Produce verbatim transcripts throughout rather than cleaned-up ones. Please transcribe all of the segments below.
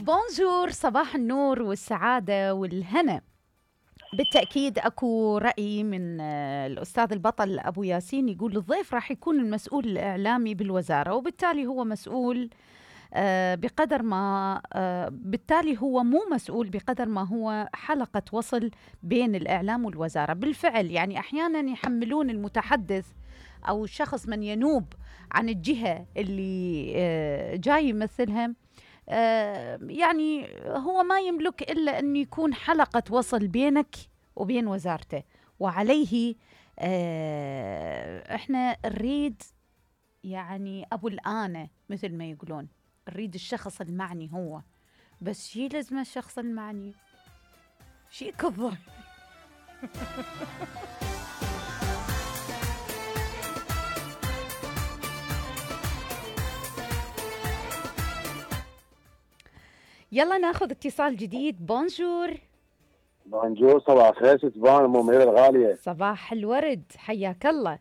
بونجور، صباح النور والسعادة والهنا. بالتأكيد أكو رأي من الأستاذ البطل أبو ياسين يقول الضيف راح يكون المسؤول الإعلامي بالوزارة، وبالتالي هو مسؤول بقدر ما بالتالي هو مو مسؤول بقدر ما هو حلقة وصل بين الإعلام والوزارة. بالفعل يعني أحيانا يحملون المتحدث أو الشخص من ينوب عن الجهة اللي جاي يمثلها، يعني هو ما يملك إلا أن يكون حلقة وصل بينك وبين وزارته، وعليه إحنا نريد يعني أبو الآنة مثل ما يقولون، نريد الشخص المعني هو بس. شي لازمه الشخص المعني؟ شي كظه. يلا ناخذ اتصال جديد. بونجور. بونجور، صباح الخير ستبان ام منيره الغاليه. صباح الورد، حياك الله.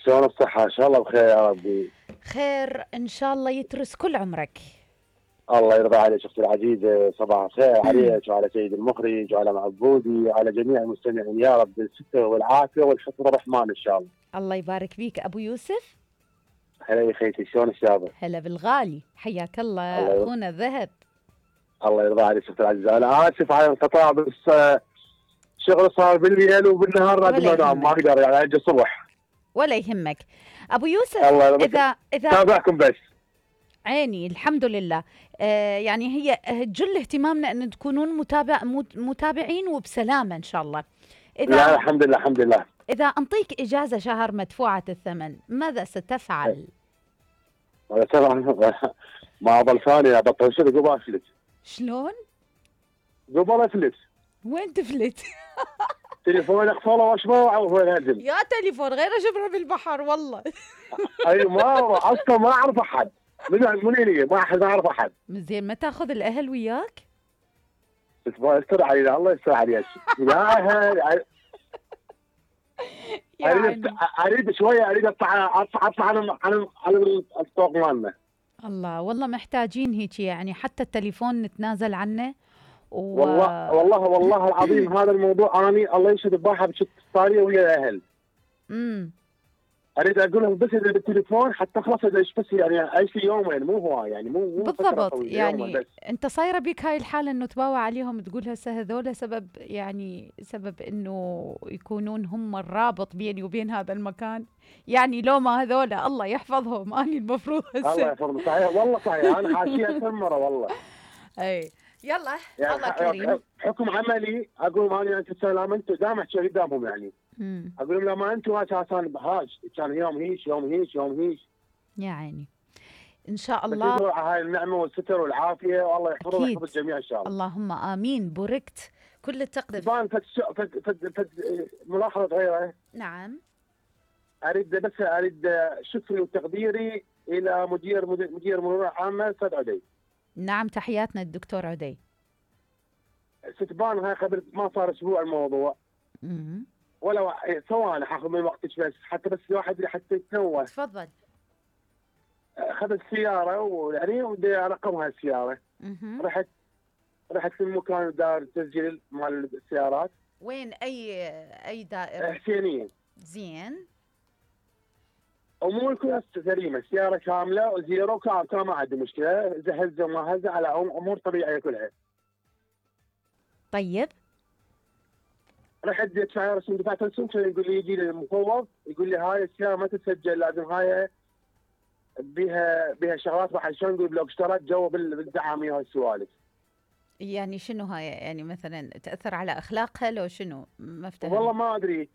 شلون الصحه؟ ان شاء الله بخير يا ربي. خير ان شاء الله، يترس كل عمرك. الله يرضى عليك اختي العزيزه، صباح الخير عليك وعلى سيد المخرج وعلى معبودي وعلى جميع المستمعين، يا رب بالستر والعافيه والحفظ الرحمن ان شاء الله. الله يبارك فيك ابو يوسف. هلا يا خيتي، شلون الشابه؟ هلا بالغالي، حياك الله اخونا الذهب. الله يرضى عليك اختي العزيزه، انا اسف على الانقطاع بس شغل صار بالليل وبالنهار لازم انام، ما اقدر يعني اجي الصبح. ولا يهمك ابو يوسف. اذا اذا تابعكم بس. عيني الحمد لله. آه يعني هي جل اهتمامنا ان تكونون متابع متابعين وبسلامه ان شاء الله. اذا لا الحمد لله الحمد لله. اذا انطيك اجازه شهر مدفوعه الثمن ماذا ستفعل؟ هذا طبعا ما ضل ثاني ابطل شغل قبل افلت. شلون؟ قبل افلت. وين تفلت؟ تليفون اقفله واشبه وين انزل. يا تليفون غير شبره بالبحر والله. اي ما اصلا ما اعرف احد. من منين ما احد ما اعرف احد. زين ما تاخذ الاهل وياك؟ يستر علينا، الله يستر عليك. لا اهل اريد اريد شويه اريد اطلع اطلع اطلع على على على الطوق مالنا. الله والله محتاجين هيك يعني، حتى التليفون نتنازل عنه. و... والله والله والله العظيم هذا الموضوع اني الله يشهد بباحه بشت صاريه ويا الاهل. امم اريد اقول لهم بس اذا بالتليفون حتى خلاص ايش بس يعني اعيش لي يومين مو هو يعني مو مو بالضبط. يعني انت صايره بك هاي الحاله انه تباوع عليهم تقول هسه هذول سبب يعني سبب انه يكونون هم الرابط بيني وبين هذا المكان، يعني لو ما هذول الله يحفظهم اني المفروض هسه. الله يحفظهم صحيح والله صحيح، انا حاشيه ثمره والله. اي يلا يعني الله كريم. حكم عملي اقول ماني انت سلام انتم دام احكي قدامهم يعني. مم. اقول لهم لما انتم اساسا بهاج كان يوم هيش يوم هيش يوم هيش. يا عيني ان شاء الله. بس هاي النعمه والستر والعافيه والله يحفظهم ويحفظ الجميع ان شاء الله. اللهم امين. بوركت كل التقدير. بان فد فد فد فد ملاحظه صغيره. نعم. اريد بس اريد شكري وتقديري الى مدير مدير مرور عامه استاذ عدي. نعم تحياتنا الدكتور عدي. ستبان هاي قبل ما صار اسبوع الموضوع. امم ولا ثواني حاخذ من وقتك بس حتى بس الواحد حتى يتنوه. تفضل. اخذ السياره ويعني ودي ارقمها السياره. امم رحت رحت في المكان دار تسجيل مال السيارات. وين اي اي دائره؟ حسينيه. زين. امور كلها سليمه، السياره كامله وزيرو كان كان ما عندي مشكله، هزه وما هزه على امور طبيعيه كلها. طيب. رحت دفع رسم دفعت رسم يقول لي يجي لي المفوض يقول لي هاي السياره ما تتسجل لازم هاي بها بها شغلات راح شلون نقول لو اشترت جو بالدعاميه وهالسوالف. يعني شنو هاي يعني مثلا تاثر على اخلاقها لو شنو؟ ما افتهم. والله ما ادري.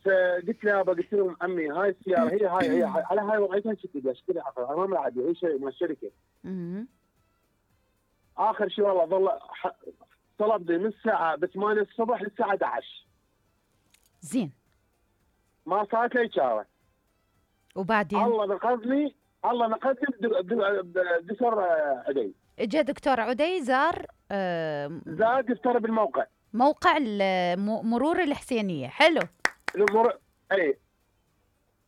فقلت له قلت لهم عمي هاي السياره هي هاي هي على هاي وضعيتها شكلها شكلها اخر امام العادي هي شيء من الشركه. اها. اخر شيء والله ظل طلب لي من الساعه ب ثمانية الصبح للساعه احد عشر. زين. ما صارت لي اشاره. وبعدين؟ الله نقذني الله نقذني بدكتور عدي. اجى دكتور عدي زار آه زار دكتور بالموقع. موقع مرور الحسينيه. حلو. المر... اي